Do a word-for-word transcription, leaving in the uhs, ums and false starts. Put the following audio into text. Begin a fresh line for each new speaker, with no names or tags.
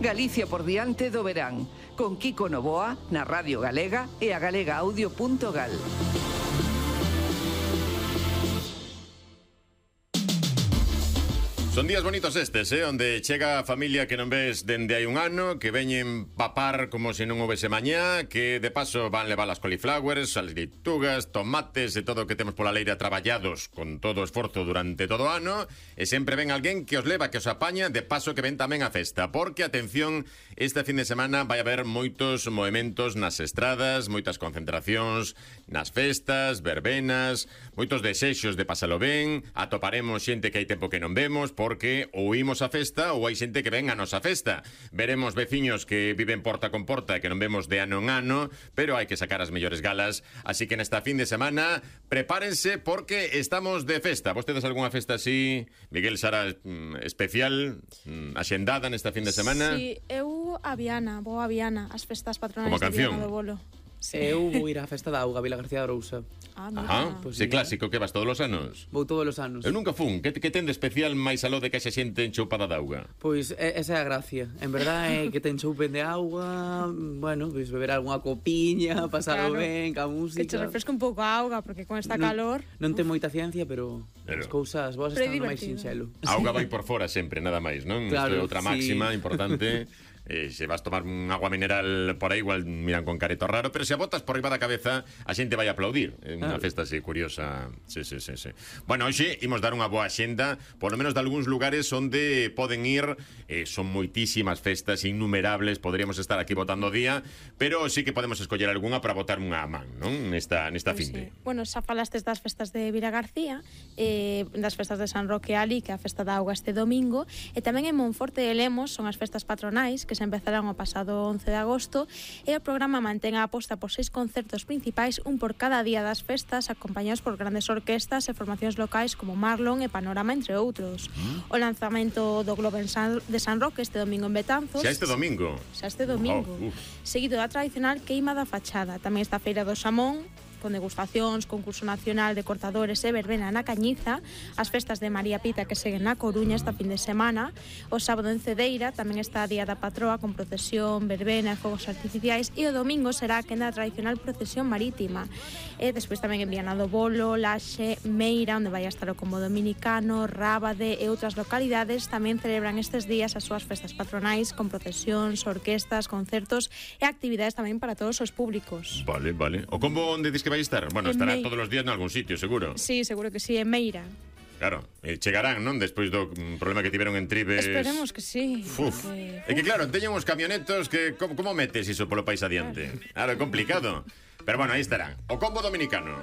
Galicia por diante do verán, con Kiko Novoa na Radio Galega e a galega audio punto gal.
Son días bonitos estes, eh? Onde chega a familia que non ves dende hai un ano, que veñen papar como se non houvese mañá, que de paso van levar as cauliflowers, as leitugas, tomates e todo o que temos pola leira traballados con todo o esforzo durante todo o ano, e sempre ven alguén que os leva, que os apaña, de paso que ven tamén a festa, porque, atención, este fin de semana vai haber moitos movementos nas estradas, moitas concentracións nas festas, verbenas, moitos desexos de pasalo ben, atoparemos xente que hai tempo que non vemos, porque ou imos a festa ou hai xente que ven a nosa festa. Veremos veciños que viven porta con porta e que non vemos de ano en ano, pero hai que sacar as mellores galas, así que nesta fin de semana prepárense porque estamos de festa. Vostedes algunha festa así, Miguel, Sara, especial, axendada nesta fin de semana?
Si, sí, eu a Viana, vou a Viana, as festas patronais
de
Viana do Bolo.
Sí. Eu vou ir á festa da auga, Vila García de Arousa.
Ah, mira.
Ajá,
pues
sí,
sí,
clásico, que vas todos os anos?
Vou todos os anos.
Eu nunca fun, que, que ten de especial máis aló de que xa xente enchoupada de auga?
Pois esa é a gracia. En verdade é que ten choupen de auga, bueno, pois beber algunha copiña, pasalo
Claro.
ben, ca música.
Que che refresca un pouco a auga, porque con esta
non,
calor...
Non ten moita ciencia, pero,
Pero-
as cousas boas
Pero é
están no máis
divertido.
sinxelo.
A auga vai por fora sempre, nada máis, non?
Claro,
Isto é outra
sí.
máxima importante. Eh, se vas tomar un agua mineral por aí, igual miran con careto raro, pero se a botas por riba da cabeza, a xente vai a aplaudir. É unha
Ah.
festa así curiosa. Sí, sí, sí, sí. Bueno, hoxe imos dar unha boa xenda, por lo menos de algúns lugares onde poden ir, eh, son moitísimas festas, innumerables, podríamos estar aquí votando o día, pero sí que podemos escoller algunha para botar unha man, non? Nesta, nesta
Pois
finde.
sí. Bueno, xa falastes das festas de Vila García, eh, das festas de San Roque Ali, que é a festa da auga este domingo, e tamén en Monforte de Lemos son as festas patronais, que se empezarán o pasado once de agosto, e o programa mantén a aposta por seis concertos principais, un por cada día das festas, acompañados por grandes orquestas e formacións locais como Marlon e Panorama, entre outros. Mm. O lanzamento do Globo en San, de San Roque este domingo en Betanzos.
Xa este domingo?
Xa este domingo.
Oh, uf.
Seguido da tradicional queima da fachada. Tamén está a Feira do Xamón, con degustacións, concurso nacional de cortadores e verbena na Cañiza, as festas de María Pita que seguen na Coruña esta fin de semana, o sábado en Cedeira tamén está a Día da Patroa con procesión, verbena e fogos artificiais, e o domingo será a quenda tradicional procesión marítima. E despois tamén en Viana do Bolo, Laxe, Meira, onde vai a estar o Combo Dominicano, Rábade e outras localidades tamén celebran estes días as súas festas patronais con procesións, orquestas, concertos e actividades tamén para todos os públicos.
Vale, vale. O combo onde dis que vai estar? Bueno,
En
estará
Mei-
todos os días en algún sitio, seguro.
Sí, seguro que sí, en Meira.
Claro, e chegarán, non? Despois do mm, problema que tiveron en Tribes.
Esperemos que sí.
Uf.
porque-
É que claro, teñen uns camionetos que como, como metes iso polo país adiante? Claro, é complicado. Pero bueno, aí estarán. O combo dominicano.